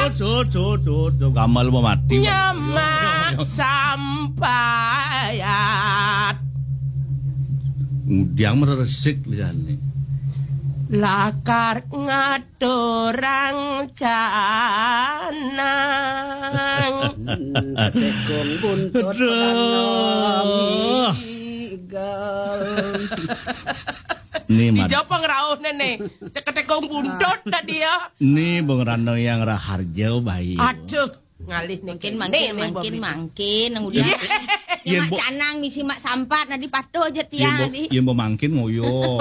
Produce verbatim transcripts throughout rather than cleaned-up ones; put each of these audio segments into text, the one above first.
Sut, sut, sut, sut, gamal mau mati. Nyamak sampayat. Ngudiang mereresik liane. Lakar ngaturang canang. Tekong buntut Aduh. Padang Igal. Ni mar- Ijo pengrauh nene. Tekong buntut tadi ya. Ni Bung Rano yang raharja bayu. Aduh, ngalih nih. Mangkin, mangkin, mangkin, mangkin, nang udah. Iya. Mak canang misi mak sampat, nadi patuh aja tiang, nadi. Yang mau mangkin ngoyo.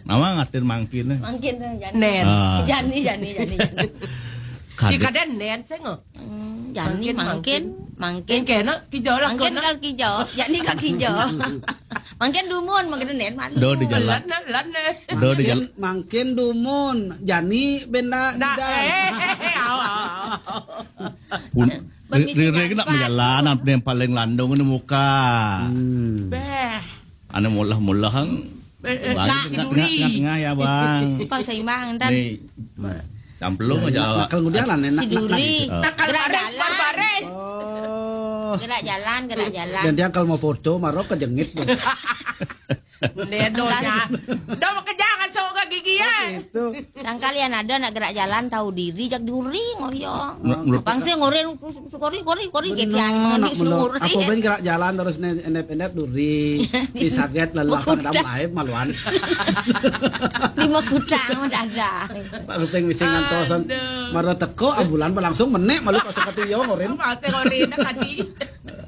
Nama ngatin mangkin? Mangkin, jani. Nen. Ah. Jani, jani, jani, jani. Kadang. Iya, kadang nen, saya nggak. Hmm, jani, mangkin, mangkin. Mangkin kena, kijo lah. Mangkin kena. Kal kijo, jani kal kijo. Mangkin dumun, mangkin nen, malu. Do di jalan. Lan, lan, nen. Do di jalan. Mangkin, mangkin dumun, jani benda. Nah, tidak. Eh, eh, eh, eh, awa, awa, awa. Pun, ri-, rire kena perjalanan yang paling landung ini muka. Hmm. Beh. Ane mulah-mulah ang. Eh, eh, nah, si Duri. Tengah, tengah, tengah, ya, Bang. Pak Saimbang, ntar. Nih, camplung aja. Kalau ngudiang lah, enak, si Duri. Enak, enak. Gerak jalan. Barbaris. Oh. Gerak jalan, gerak jalan. Dan dia kalau mau foto, maro kejengit tuh. Ndedonya. Dah bekerja kasuk ke gigi ya. Oh, gitu. Sangkal yang ada nak gerak jalan tahu diri, jak duri ngoyo. Menurut, menurut pangsi ngorin, kori, kori, kori, kayak tiang mengendi si nguri. Apa ben gerak jalan terus ne-, endep-endep duri. Disaget lelah, kadang laib maluan. Lima kutang udah ada. Pak Geseng mising ngantosan. Aduh. Mara teko, ambulan berlangsung menek malu pas sekati yo ngorin. Apa sih ngorin tadi?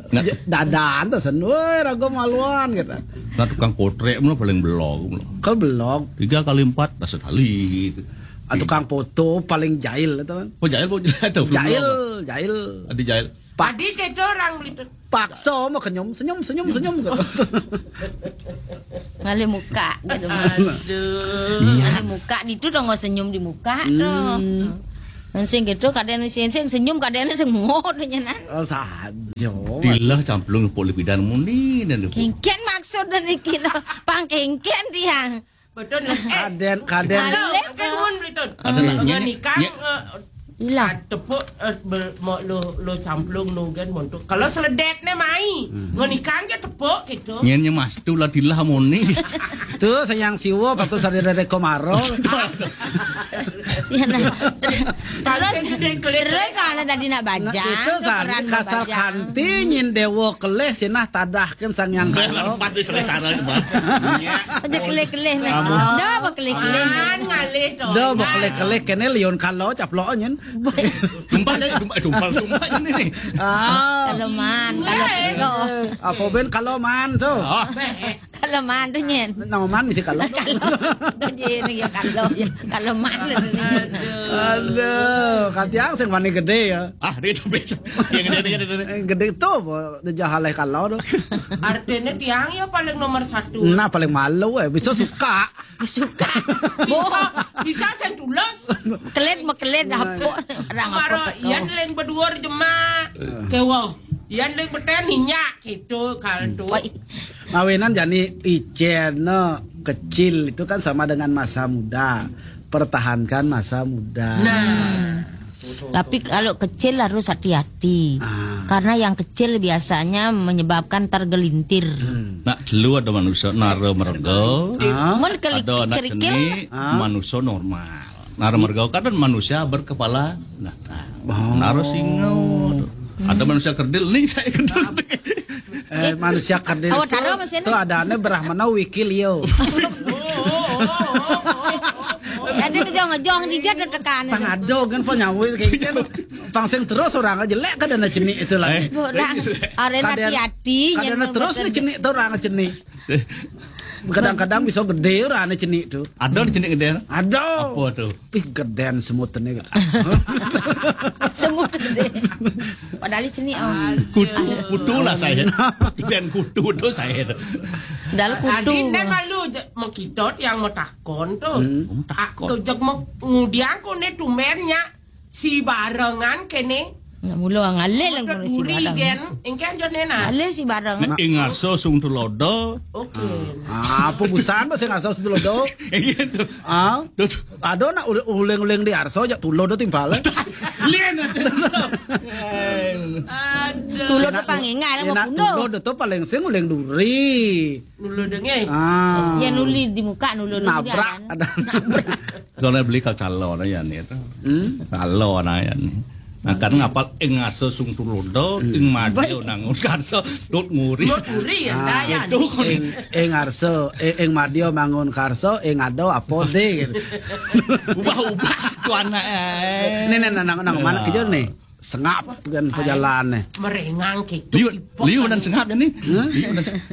Nah. Dadaan tuh sen, woi, raga maluan gitu. Nah, tukang potret mah paling belog. Kal belog. Tiga kali empat, dah sekali gitu. Ah, tukang foto paling jahil itu kan. Oh, jahil, oh, jahil. Jahil, jahil. Adi jahil. Pak. Adi saya orang gitu. Paksa mau kenyum, senyum, senyum, senyum gitu. Ngalih muka gitu. Aduh. Ngalih muka itu dong, nggak senyum di muka tuh. Hmm. Sing gitu, kadang sing, sing senyum, kadang sing mengot nyenan. Oh, sajo. Dilah camplung pok lipidan muni dan. Kengken maksud dan iki lo. Pang kengken dia. Betul. Eh, kaden, kaden. Halo, kan mun betul. Ada nak nyanyi, nikah, nyanyi. Ilah. Tepuk, eh, mau lo, lo camplung lo kan montok. Kalau seledet ne mai, ngonikang ke tepuk gitu. Nyen nyemas tu lah dilah muni. Tu sayang siwa patu sadere komaro. Ya, nah. Terus, terus ana dadi nak bajang, itu sari kasal kanti nyin dewa kelih sinah tadahkan sang yang kalo. Pas di selesara sebab. Aja kelih-kelih nih. Dah apa kelih-kelih? Man ngalih to. Dah apa kelih-kelih kene liun kalo caplok nyin. Tumpal deh, tumpal, tumpal, tumpal ini nih. Ah. Kalau man, kalau teko. Apa ben kalau man tu? Oh. Kalau man tu nyen. Nama man mesti kalau. Kalau. Dah je ni ya kalau. Kalau man tu ni. Aduh. Aduh, katiang sing wani gede ya. Ah, dia tu betul. Yang gede, gede, gede. Gede tu, dah jahalai kalau tu. Artinya tiang ya paling nomor satu. Nah, paling malu eh. Bisa suka. Suka. Bisa, bisa sing tulus. Kelit mekelit dapur. Orang apa? Maro, yan ling beduur jema. Kewo. Yan ling beten ninyak gitu kal tu. Wah, mawinan jani icen, no, kecil itu kan sama dengan masa muda. Pertahankan masa muda. Nah. Tapi kalau kecil harus hati-hati. Ah. Karena yang kecil biasanya menyebabkan tergelintir. Hmm. Nak dulu ada manusia nara merga. Ah. Mun keli-, ada anak kerikil. Jenik, ah, manusia normal. Nara merga kan manusia berkepala. Nah, oh. Nara singa. Ada manusia kerdil nih, saya kerdil. Eh, manusia kerdil. Awak itu, taruh apa sih, itu nih? Ada ane Brahmana Wikilio. Jadi kejong-kejong di jad tekan. Pang ado kan penyawi kayak gitu. Pang sing terus orang aja lek kada na cenik itu lah. Eh. Orang, arena hati-hati. Kada na terus na cenik tu orang cenik. Kadang-kadang bisa gede orang na cenik tu. Ada di cenik gede? Ada. Apa tu? Pih, geden semut ini. Semut gede. Padahal sini, oh. Kutu, kutu lah saya. Geden kutu tu saya. Dalam kutu. Adi ndak malu je, mau kita yang mau takon tu. Hmm. Ah, takon. Kejak mau ngudiang ko ne tumernya si barengan kene Mula ngalih lang. Duri gen, engken jo nena. Ngalih si barang. Ing ngarsa sung tulodo. Oke. Ah, apa busan bahasa ngarsa sung tulodo? Gitu. Ah, ada nak uleng-uleng di arsa jak tulodo timpal. Lien. Tulodo pangingal. Enak tulodo tu paling sing uleng duri. Nulu denge. Ah. Ya nuli di muka nulu nabrak. Ada. Kalau beli kal calon aja nih itu. Hmm? Calon aja nih. Nah, kan ngapal ing asa sung tulodo, ing madio nangun karso, dot nguri. Dot nguri ya, ah, dayan. Itu kan. Ing, ing arsa, ing, ing madio mangun karso, ing ado apa deh gitu. Ubah-ubah situ anak eh. Nih, nih, nang, nang mana kerja nih? Sengap kan pejalan nih. Merengang gitu. Liu, liu dan sengap ya nih. Hah? Liu dan sengap.